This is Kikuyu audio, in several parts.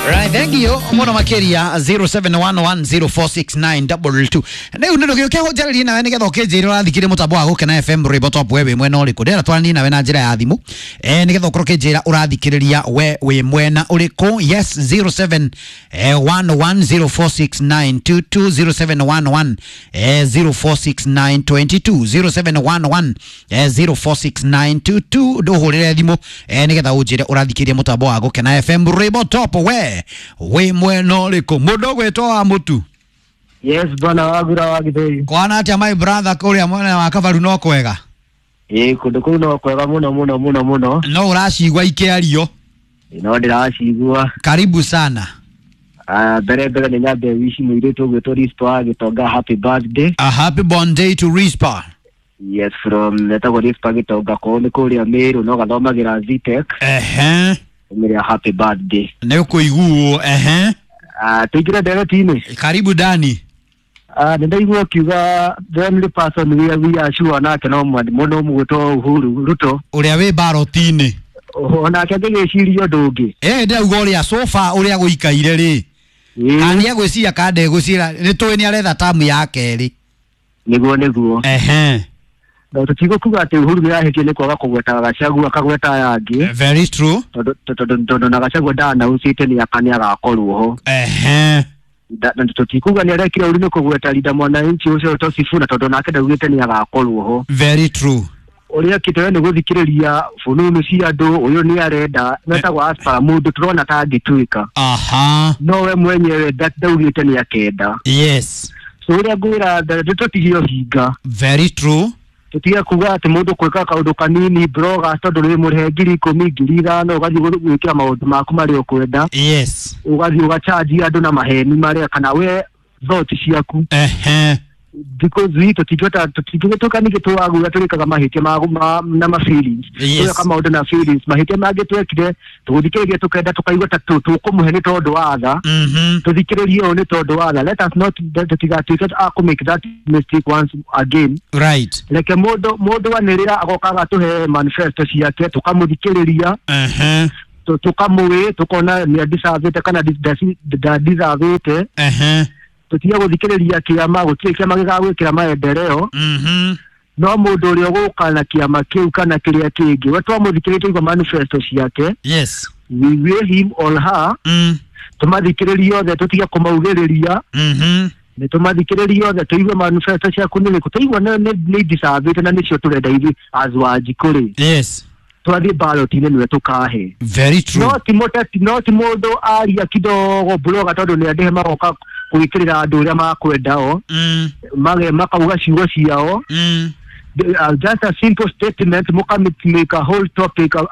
Right, thank you muno makiria 0711046922. Rĩu nĩ ndũgĩũke ũnjarĩrie nawe nĩgetha ũkĩnjĩre ũrathikĩrĩria mũtambo wa Gũkena FM rwĩmbo top we wĩ mwena ũrĩkũ. Ndĩrenda twaranie nawe na njĩra ya thimũ nĩgetha ũkorwo ũkĩnjĩra ũrathikĩrĩria we wĩ mwena ũrĩkũ. Yes, 0711046922, 0711 046922, 0711 046922. Ndũhũrĩre thimũ nĩgetha ũnjĩre ũrathikĩrĩria mũtambo wa Gũkena FM rwĩmbo top we wĩ mwena ũrĩkũ. Mũndũ ũgwĩtwo wa mũtu. Yes, bwana Wagura wa Githei. Kwana atia my brother kũrĩa mwena wa Kabaru no kwega? Ĩĩ, kũndũ kũu no kwega mũno mũno mũno mũno. No ũracigua ikĩario? No ndĩracigua. Karibu sana. Ah, mbere mbere nĩ nyambe wishi mũirĩtu ũgwĩtwo Rispa wa Gĩtonga happy birthday. A happy born day to Rispa. Yes, from etagwo Rispa Gĩtonga kwao nĩ kũrĩa Meru no gathomagĩra Zetech. Ehe. Ũmĩre happy birthday. Nĩ ũkũiguo. Ehe. Ah, tũingĩre ndereti-inĩ. Karibu Dani. Ah, nĩ ndaigua ũkiuga the only person we are sure nake no mũno mũgwĩtwo Uhuru Ruto. Ũrĩa wĩ baroti-inĩ. Onake angĩgĩciria ũndũ ũngĩ. Ĩ ndĩrauga ũrĩa sofa ũrĩa gũikaire rĩ. Kana nĩegwĩciria kana ndegwĩciria nĩ tũĩ nĩ aretha tamu ya kerĩ. Nĩguo nĩguo. Ehe. No tũtigũkuga atĩ Uhuru nĩarahĩtia nĩ kwaga kũgweta Gachagua akagweta aya angĩ. Very true. Tondũ na Gachagua ndanaũcĩte nĩagakorwo ho. Ehe. Tũtikuga nĩarekire ũru nĩ kũgweta Linda Mwananchi ũcio ũtwo Sifuna tondũ nake ndaugĩte nĩagakorwo ho. Very true. Ũrĩa ekĩte we nĩ gũthikĩrĩria fununu cia andũ ũyũ nĩarenda metagwo aspara mũndũ tũrona ta angĩtuĩka. Aha. No we mwenyewe ndaugĩte nĩakenda. Yes. So ũrĩa ngwĩra tũtige ũhinga. Very true. Tũtige kuga atĩ mũndũ gwĩka kaũndũ kanini blogger tondũ nĩ mũrĩhe 10,000 5,000 ũgathiĩ gwĩkĩra maũndũ maku marĩa ũkwenda. Yes. Ũgathiĩ ũgachanji andũ na maheni marĩa kana we thought ciaku. Ehe. Because we tũtingĩhota tũtingĩtuĩka ningĩ twagũra tũrĩkaga mahĩtia na ma feelings. Yes. Tũgeka maũndũ na feelings mahĩtia mangĩ twekire tũgũthikĩrĩria tũkenda tũkaigua ta tũkũmũhe nĩ tondũ wa tha. Tũthikĩrĩrie ũũ nĩ tondũ wa tha. Let us not tũtigatuĩke a kũ make that mistake once again. Right. Reke mũndũ anĩrĩra agoka agatũhe manifesto ciake tũkamũthikĩrĩria. Ehe. Tũkamũĩ tũkona nĩ deservĩte kana nda-deservĩte. Ehe. Tũtige gũthikĩrĩria kĩama gũtirĩ kĩama gĩgagwĩkĩra maendeleo. No mũndũ ũrĩa ũgũka na kĩama kĩu kana kĩrĩa kĩngĩ we twamũthikĩrĩria twaigua manifesto ciake. Yes. We weigh him or her. Tũmathikĩrĩrie othe tũtige kũmaugĩrĩria. Nĩ tũmathikĩrĩrie othe tũigue manifesto ciaku nĩ ĩrĩkũ tũigua nĩ deservĩte na nĩcio tũrenda ithuĩ as Wanjikũ rĩ. Yes. Twathiĩ ballot-inĩ nĩwe tũkahe. Very true. No ti mũteti no ti mũndũ aria kidogo blogger tondũ nĩ andĩhe magoka gwĩkĩrĩra andũ ũrĩa makwenda o. Makauga ciugo ciao. Just a simple statement muka make a whole topic of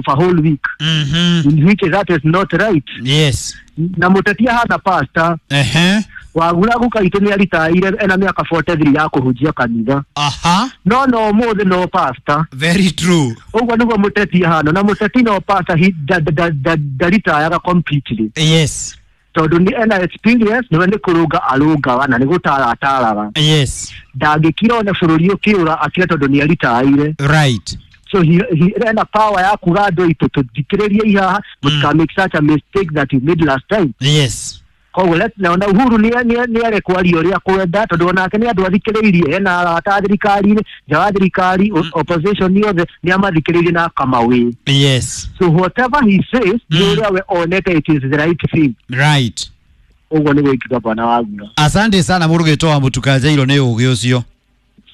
a whole week. In which that is not right. Yes. Na mũteti ahana pastor. Ehe. Wagura guka itũ nĩ aritaire ena mĩaka 43 ya kũhunjia kanitha. Aha. No no mũthĩ no pastor. Very true. Ũguo nĩguo mũteti ahana na mũteti no pastor ndaritayaga completely. Yes. Tondũ nĩ ena experience nĩwe nĩ kũrũnga arũngaga na nĩ gũtara ataraga. Yes. Ndangĩkira ona bũrũri ũkĩũra akire tondũ nĩ aritaire. Right. So he ena power ya kuga andũ aitũ tũthikĩrĩrie ihaha mũtika make such a mistake that you made last time. Yes. Koguo na Uhuru nĩ arekwaria ũrĩa kwenda tondũ onake nĩ andũ athikĩrĩirie ena arata thirikari-inĩ nja wa thirikari opposition yothe nĩ amathikĩrĩirie na akamawĩ. Yes. So whatever he says nĩ ũrĩa we onete it is the right thing. Right. Ũguo nĩguo ingiuga bwana Wagura. Asante sana mũrũgĩtwo wa Mũtukanjairũ nĩ ũgĩ ũcio.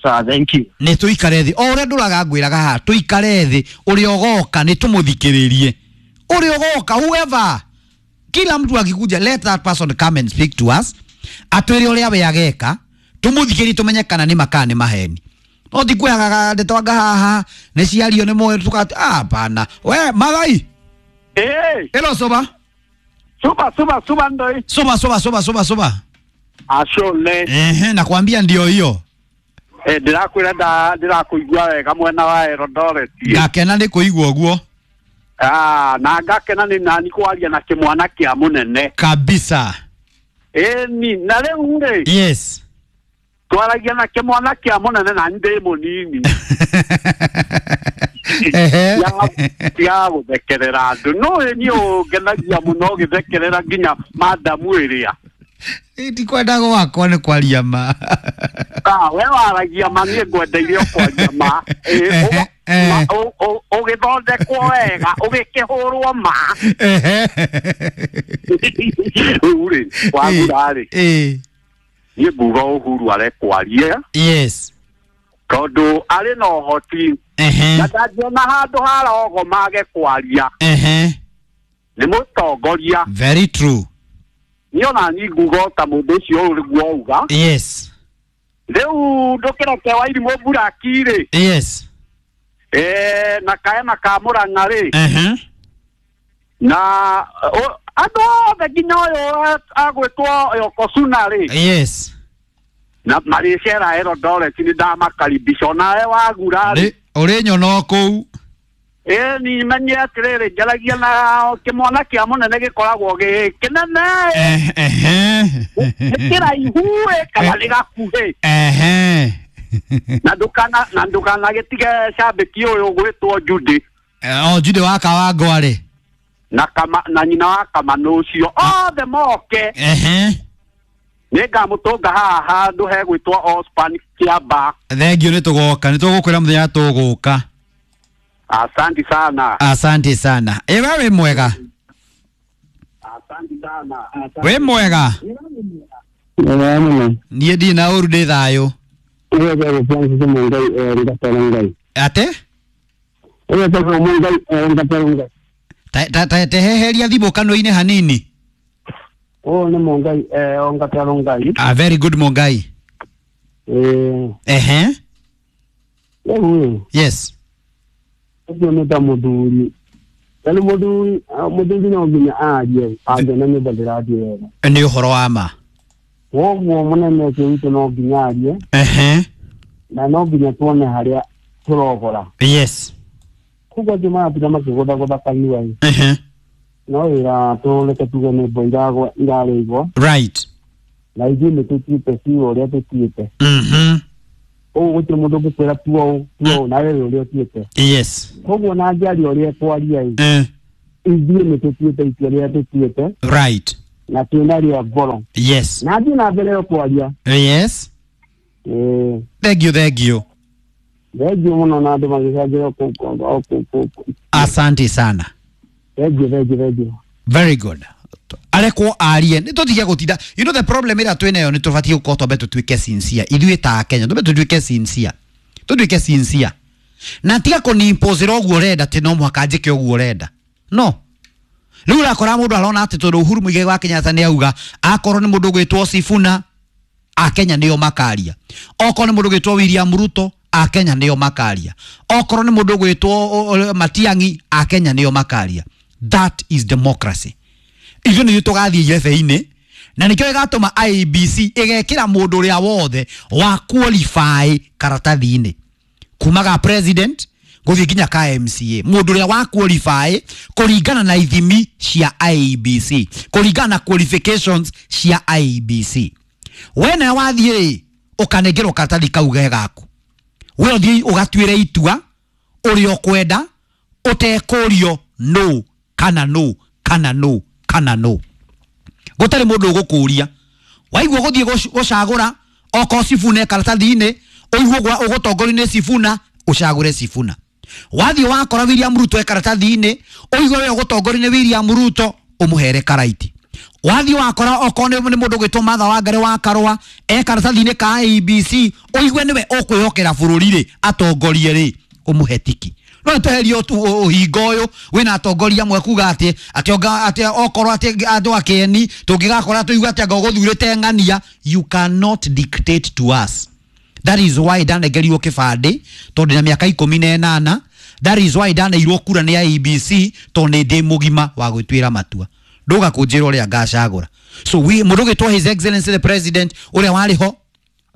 Sir, thank you. Nĩ tũikare thĩ o ũrĩa ndũraga ngwĩraga haha tũikare thĩ ũrĩa ũgoka nĩ tũmũthikĩrĩrie ũrĩa ũgoka whoever kila mtu akikuja let that person come and speak to us atwĩre ũrĩa we ageka tũmũthikĩrĩrie tũmenye kana nĩ makaa nĩ maheni no ti kwĩhagaga ndeto anga haha nĩ ciario nĩ moyo tũka hapana we magai. Eh. Hello soba. Suba suba suba ndoi. Soba soba soba soba soba. Ashole. Ehe, nakwambia ndio hiyo. Eh, ndirakwĩra ndirakuigua wega mwena wa Eldoret. Ngakena nĩ kũigua ũguo. Ah, na ngakena nĩ nani kwaria na kĩmwana kĩa mũnene. Kabisa. Ĩni, na rĩu rĩ. Yes. Twaragia na kĩmwana kĩa mũnene na ndĩ mũnini. Tiga gũthekerera andũ no niĩ ũngenagia mũno ũgĩthekerera nginya madamu ĩrĩa. Ndikwenda gwakwa nĩ kwaria ma. We waragia ma, niĩ ngwendeire o kwaria ma. Ũgĩthondekwo wega ũgĩkĩhũrwo ma. Rĩu rĩ wagura rĩ, niĩ nguga Uhuru arekwarie. Yes. Tondũ arĩ na ũhoti na ndangĩona handũ harogomage kwaria. Nĩ mũtongoria. Very true. Niĩ ona niĩ nguga ta mũndũ ũcio ũrĩguo auga. Yes. Rĩu ndũkĩreke Wairimũ Buraki rĩ. Yes. Na kaema ka Murang'a rĩ. Na andũ othe nginya ũyũ agwĩtwo Yokosuna rĩ. Yes. Na marĩcera Eldoret nĩ ndamakaribisha onawe wagura rĩ. Ũrĩ nyono kũu. Ni menye atĩrĩrĩ, njaragia na kĩmwana kĩa mũnene gĩkoragwo gĩ kĩnene. Nĩ kĩraihu kana nĩ gakuhĩ. Na ndũkanagĩtige cambĩki ũyũ ũgwĩtwo Judy. O Judy wa Kawangwa rĩ. Na kama na nyina wa Kamano ũcio othe moke. Nĩngamũtũnga haha handũ hegwĩtwo Ospan Kĩamba. Thengiũ, nĩ tũgoka, nĩ tũgũkwĩra mũthenya tũgũka. Asante sana. Asante sana. Ewe wĩ mwega. Asante sana. Wĩ mwega. Niĩ ndirĩ na ũru, ndĩ thayũ. Ate? Teheheria thimũ kanua-inĩ hanini. Ũyũ nĩ Mũngai Ongatero Ngai. Ah, very good Mũngai. Ehe. Rĩu Yes. Ũcio nĩ ta mũthuri. Rĩu mũthuri no nginya arie angĩona nyũmba ndĩrathiĩ wega. Nĩ ũhoro wa ma. Koguo mũnene ũcio witũ no nginya arie. Ehe. Na no nginya tuone harĩa tũrogora. Yes. Koguo angĩ maratinda makĩgũthagũtha kanua ĩ. Ehe. No wĩra tũreke tuge nĩ mbo irarĩigwo. Right. Na ithuĩ nĩ tũtuĩte biũ ũrĩa tũtuĩte. Ũguo gũtirĩ mũndũ ũngĩkwĩra tua ũũ, tua ũũ, nawe wĩ ũrĩa ũtuĩte. Yes. Koguo na angĩaria ũrĩa ekwaria ĩ. Ithuĩ nĩ tũtuĩte itua rĩrĩa tũtuĩte. Right. Na twĩna rĩa ngoro. Yes. Na athiĩ na mbere kwaria. Yes. Thank you, thank you. Thank you mũno na andũ magĩcanjĩra kũu. Asante sana. Thank you, thank you, thank you. Very good. Arekwo arie nĩ tũtige gũtinda. You know the problem ĩrĩa twĩnayo nĩ tũbatiĩ gũkorwo twambe tũtuĩke sincere ithuĩ ta Kenya, twambe tũtuĩke sincere, tũtuĩke sincere na tiga kũnimpose-ra ũguo ũrenda atĩ no mũhaka njĩke ũguo ũrenda. No rĩu ũrakora mũndũ arona atĩ tondũ Uhuru Muigai wa Kenyatta nĩ auga akorwo nĩ mũndũ ũgwĩtwo Sifuna Akenya nĩo makaria, okorwo nĩ mũndũ ũgwĩtwo William Ruto Akenya nĩo makaria, okorwo nĩ mũndũ ũgwĩtwo Matiang'i Akenya nĩo makaria. That is democracy. Ithuĩ nĩithuĩ tũgathiĩ irebe-inĩ na nĩkĩo ĩgatũma IEBC ĩgekĩra mũndũ ũrĩa wothe wa qualify karatathi-inĩ kuma ga president gũthiĩ nginya ka MCA, mũndũ ũrĩa wa qualify kũringana na ithimi cia IEBC, kũringana na qualifications cia IEBC. We nawe wathiĩ rĩ ũkanengerwo karatathi kau ge gaku, we ũthiĩ ũgatuĩre itua ũrĩa ũkwenda ũtekũrio no kana no kana no kana no, gũtarĩ mũndũ ũgũkũria. Waigua gũthiĩ gũcagũra okorwo Sifuna e karatathi-inĩ, ũigue ũgũtongorio nĩ Sifuna, ũcagũre Sifuna. Wathiĩ wakora William Ruto e karatathi-inĩ, ũigue we ũgũtongorio nĩ William Ruto, ũmũhere karaiti. Wathiĩ wakora okorwo nĩ mũndũ ũgwĩtwo Martha Wangari wa Karũa e karatathi-inĩ ka IEBC, ũigue nĩwe ũkwĩhokera bũrũri rĩ, atongorie rĩ, ũmũhe tiki. No tweherie ũhingo ũyũ wĩna atongoria amwe kuga atĩ atĩ okorwo atĩ andũ a kĩeni tũngĩgakora tũigue atĩ anga ũgũthurĩte ng'ania. You cannot dictate to us. That is why ndanengerirwo kĩbandĩ tondũ ndĩna mĩaka 18. That is why ndaneirwo kura nĩ IEBC tondũ nĩ ndĩ mũgima wa gwĩtuĩra matua. Ndũga kũnjĩra ũrĩa ngacagũra. So we mũndũ ũgwĩtwo His Excellency the President ũrĩa warĩ ho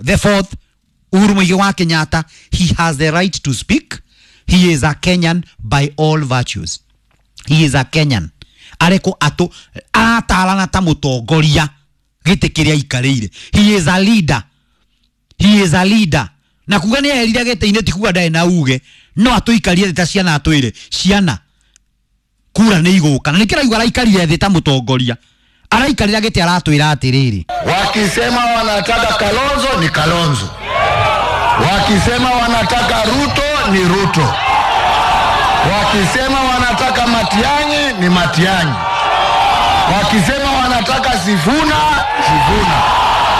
the fourth Uhuru Muigai wa Kenyatta, he has the right to speak. He is a Kenyan by all virtues. He is a Kenyan. Areko atũ aratarana ta mũtongoria gĩtĩ kĩrĩa aikarĩire. He is a leader. He is a leader. Na kuga nĩ eherire gĩtĩ-inĩ ti kuga ndarĩ na uge. No atũikarie thĩ ta ciana, atwĩre ciana kura nĩ igũka, na nĩkĩo raigua araikarie thĩ ta mũtongoria araikarĩra gĩtĩ, aratwĩra atĩrĩrĩ: Wakisema wanataka Kalonzo ni Kalonzo, wakisema wanataka Ruto ni Ruto, wakisema wanataka Matiang'i ni Matiang'i, wakisema wanataka Sifuna, Sifuna.